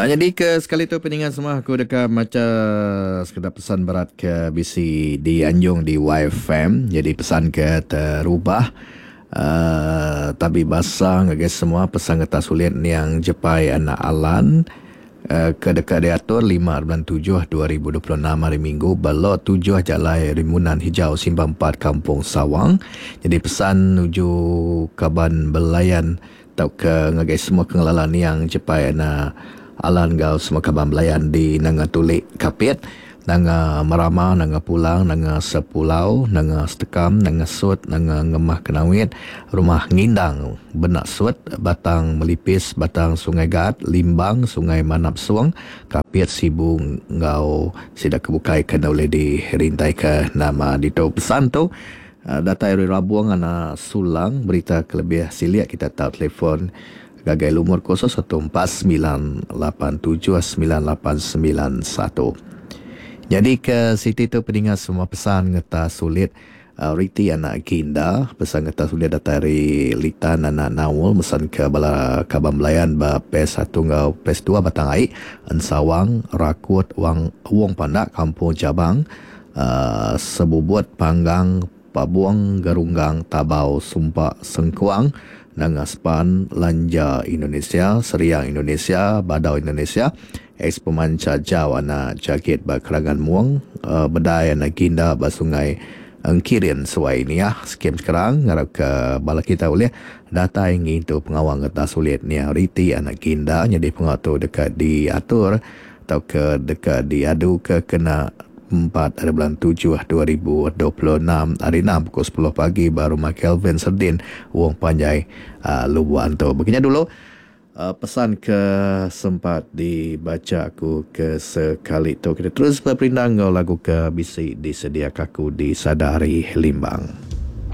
Nyadi ke sekali tu peninga semua aku deka macha sekeda pesan berat ke bisi dianjung di YFM. Jadi pesan ke terubah uhh tabi basa ngagai semua pesan ngetas ulit niang Jepai anak Alan uhh ke deka diatur lima bulan tujuh 2026 hari Minggu ba Lot tujuh Jalai Rimbunan Hijau Simpang Empat Kampung Sawang. Jadi pesan nuju kaban belayan Tauka ngagai semua ke ngelala niang Jepai anak Alan enggau semua kaban belayan di Nanga Tulik Kapit, Nanga Merama, Nanga Pulang, Nanga Sepulau, Nanga Setekam, Nanga Sut, Nanga Ngemah Kenawit, Rumah Ngindang, Benak Sut, Batang Melipis, Batang Sungai Gaat, Limbang, Sungai Manap Sung, Kapit, Sibu enggau sida ke bukai ke enda ulih dirintaika nama ditu. Pesan tu. Datai ari Rabung anak Sulang berita ke lebih silik kita tau telefon ngagai lumur 0149879891. Nyadi ke siti tu peninga semua pesan ngeta sulit riti anak Ginda pesan ngeta sulit datai ari Litan anak Naul mesan ke bala kaban belayan ba Pes satu enggau Pes dua Batang Ai Ensawang Rakut Wang Wong Pandak Kampung Jabang Sebubut Panggang Pabung Gerunggang Tabau Sumpa Sengkuang Nanga Sepan Lanja Indonesia Seriang Indonesia Badau Indonesia Ex Pemancha Jau anak Jagit ba Kerangan Mung Bedai anak Ginda ba Sungai Engkirin Suai Niah Skim Sekerang ngarapka bala kita ulih datai ngintu pengawa ngetas ulit Niah Riti anak Ginda nyadi pengawa tu deka diatur tauka deka diaduka kena empat ari bulan tujuh 2026 hari enam pukul sepuluh pagi ba Rumah Kelvin Serdin, Wong Panjai, Lubok Antu. Baka nya dulu pesan ke sempat dibacha aku ke sekali tu. Kita terus beperindang enggau lagu ke bisi disediaka aku di Sada Hari Limbang.